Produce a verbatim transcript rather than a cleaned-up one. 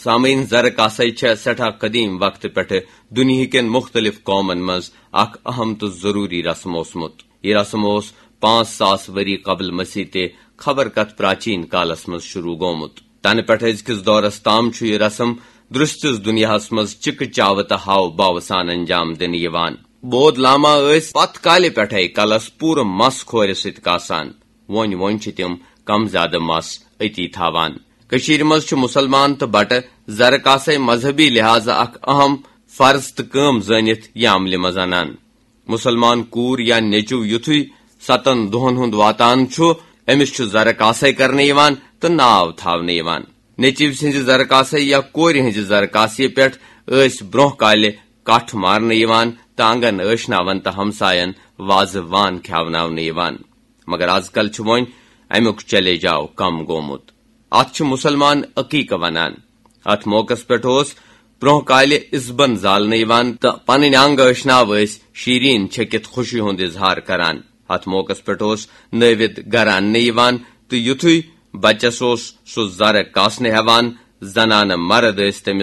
سامعین، زرٕ کاسے چھےٚ سٮ۪ٹھاہ قدیم وقتہٕ پٮ۪ٹھٕ دُنیہکٮ۪ن مُختٔلِف قومن منٛز اکھ اہم تہٕ ضروٗری رسم اوسمُت۔ یہِ رسم اوس پانٛژھ ساس ؤری قبل مسیح تہِ خبر کتھ پراچین کالس منٛز شروع گوٚمُت۔ تنہٕ پٮ۪ٹھٕ أزکِس دورس تام چھُ یہِ رسم درستِس دُنیاہس منٛز چِکہٕ چاوٕ تہٕ ہاو باوٕ سان انجام دِنہٕ یِوان۔ بود لاما ٲسۍ پتھ کالہِ پٮ۪ٹھے کلس پوٗرٕ مس کھورِ سۭتۍ کاسان۔ وۄنۍ وۄنۍ چھِ تِم کم زیادٕ مس أتی تھاوان۔ کٔشیٖرِ منٛز چھِ مُسلمان تہٕ بٹہٕ زرٕ کاسے مذہبی لحاظہٕ اکھ اہم فرض تہٕ کٲم زٲنِتھ یہِ عملہِ منٛز انان۔ مُسلمان کوٗر یا نیٚچو یُتھُے ستن دۄہن ہُنٛد واتان چھُ، أمِس چھُ زرٕ کاسے کرنہٕ یِوان تہٕ ناو تھاونہٕ یِوان۔ نیٚچوۍ سٕنٛزِ زرٕ کاسے یا کورِ ہٕنٛزِ زرٕ کاسہِ پٮ۪ٹھ ٲسۍ برٛونٛہہ کالہِ کٹھ مارنہٕ یِوان تہٕ آنگن ٲشناون تہٕ ہمساین وازٕ وان کھیاوناونہٕ یِوان۔ مگر از کل چھُ وۄنۍ امیُک چلے جاو کم گوٚمُت۔ اتھ چھِ مُسلمان عقیقہٕ ونان۔ اتھ موقعس پٮ۪ٹھ اوس برٛونٛہہ کالہِ اِزبن زالنہٕ یِوان تہٕ پنٕنۍ انگ ٲشناو ٲسۍ شیرین چھٔکِتھ خوشی ہُنٛد اظہار کران۔ اتھ موقعس پٮ۪ٹھ اوس نٲوِد گرٕ اننہٕ یِوان تہٕ یُتھُے بچس اوس سُہ زرٕ کاسنہٕ ہٮ۪وان، زنانہٕ مرد ٲسۍ تٔمِس